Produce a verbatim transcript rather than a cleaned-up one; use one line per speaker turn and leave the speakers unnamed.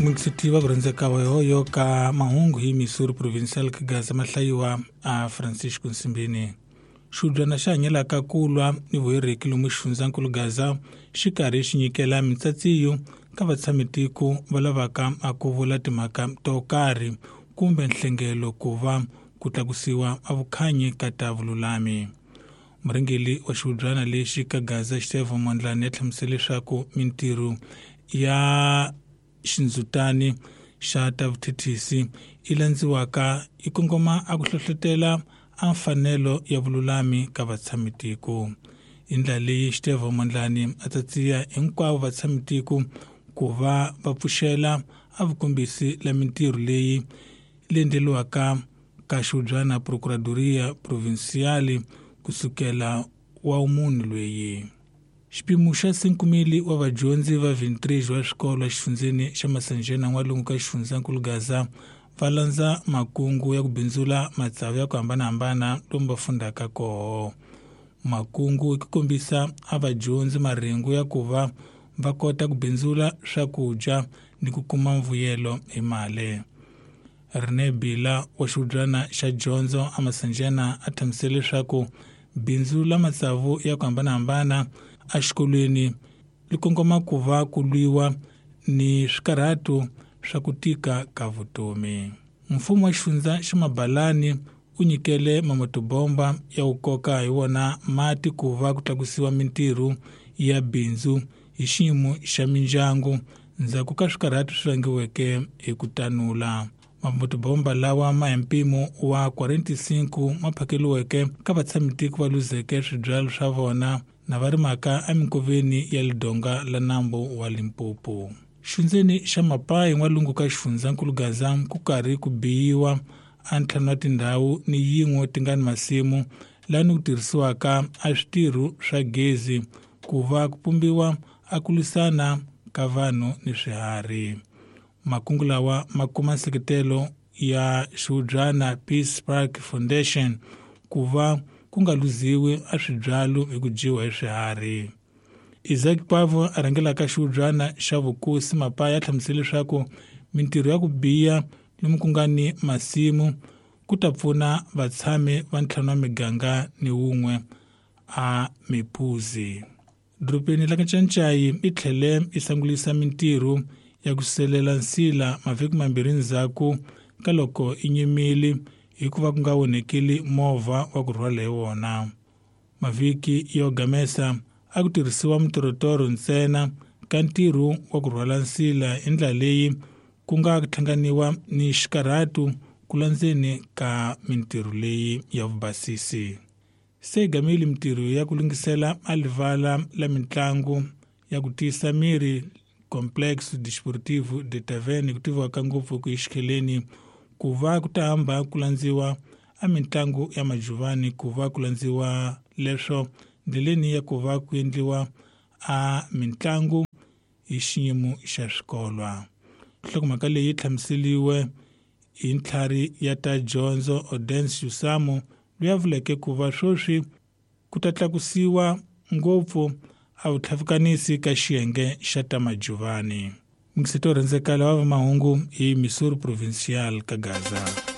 Mungisiti wa kurhandzeka wa hoyo ka mahungu hi Missouri Provincial ka Gaza mahlayiwa a Francisco Nsimbini. Xihubyana xa hanyelaka ku lwa ni vuhereki lomu xifundzankulu Gaza xi karhi xi nyikela mitsatsiyo ka vatshamitiko va lavaka a ku vula timhaka to karhi kumbe nhlengelo ku va ku tlakusiwa a vukhanyi ka ta vululami. Murhangeri wa xihubyana lexi ka Gaza Xitevo Mondlane ya hlamusela leswaku mintirho ya xindzutani xa ta vuthethisi i landziwaka i kongoma a ku hlohlotela a mfanelo ya vululami ka vatshamitiko. Hi ndlela leyi Xitevo Mondlane a tsatsiya hinkwavo vatshamitiko ku va va pfuxela a vukombisi la mintirho leyi leyi endleriwaka ka xihubyana Procuradoria Provincial kusukela wa munhu loyi. Xipimo xa cinco mil wa vadyondzi va vintrix wa swikolo exifundzeni xa Masanjena n'walungu ka xifundzankulu Gaza va landza makungu ya ku bindzula matsavu ya ku hambanahambana lomu va fundaka koho. Makungu i ku kombisa a vadyondzi marhengu ya ku va va kota ku bindzula swakudya ni ku kuma mvuyelo hi mali. Rene Bila wa xihubyana xa dyondzo a Masanjena a hlamusela leswaku bindzu la matsavu ya ku hambanahambana exikolweni li kongoma ku va ku lwiwa ni swikarhato swa ku tika ka vutomi. Mfumo wa xifundza xa Mabalani u nyikele mamotobomba ya ku koka hi wona mati ku va ku tlakusiwa mintirho ya bindzu hi xiyimo xa mindyangu ndzhaku ka swikarhato swi vangiweke hi ku tanula. Mamotobomba lawa ma hi mpimo wa quarenta e cinco ma phakeliweke ka vatshamitiko va luzeke swibyalo swa vona na va rimaka eminkoveni ya lidonga la nambu wa Limpopo. Xifundzeni xa Mapayi n'walungu ka xifundzankulu Gaza ku karhi ku biyiwa a ntlhanu wa tindhawu ni yin'we ti nga ni masimu lani ku tirhisiwaka a switirho swa gezi ku va ku pumbiwa a ku lwisana ka vanhu ni swiharhi. Makungu lawa ma kuma nseketelo ya xihubyana Peace Park Foundation ku va ku nga luziwi a swibyalo hi ku dyiwa hi swiharhi. Isaac Pavo a rhangelaka xihubyana xa vukosi Mapaya a hlamusela leswaku mintirho ya ku biya lomu ku nga ni masimu ku ta pfuna vatshami va ntlhanu wa miganga ni wun'we a Mipuzi. Dorobeni la Kanchanchayi i tlhele i sangulisa mintirho ya ku selela nsila mavhiki mambirhi ndzhaku ka loko i nyimile hikuva ku nga onhekile movha wa ku rhwala hi wona. Mavhiki yo gamesa a ku tirhisiwa mitorotoro ntsena ka ntirho wa ku rhwala nsila hi ndlela leyi ku nga hlanganiwa ni xikarhato ku landzeni ka mintirho leyi ya vubasisi. Se gamile mintirho ya ku lunghisela a livala la mitlangu ya ku tiyisa miri Complexo Desportivo de Taverne ku tiviwaka ngopfu ku xikheleni ku va ku ta hamba ku landziwa a mitlangu ya majuvani ku va ku landziwa leswo ndleleni ya ku va ku endliwa a mitlangu hi xiyimo xa swikolwa. Nhlokomhaka leyi hlamuseliwe hi ntlhari ya ta dyondzo Odense Usamo loyi a vuleke ku va sweswi ku ta tlakusiwa ngopfu a vutlhavikanisi ka xiyenge xa ta majuvani. Mingiseti wo rhandzeka lava va mahungu hi Missouri Provincial ka Gaza.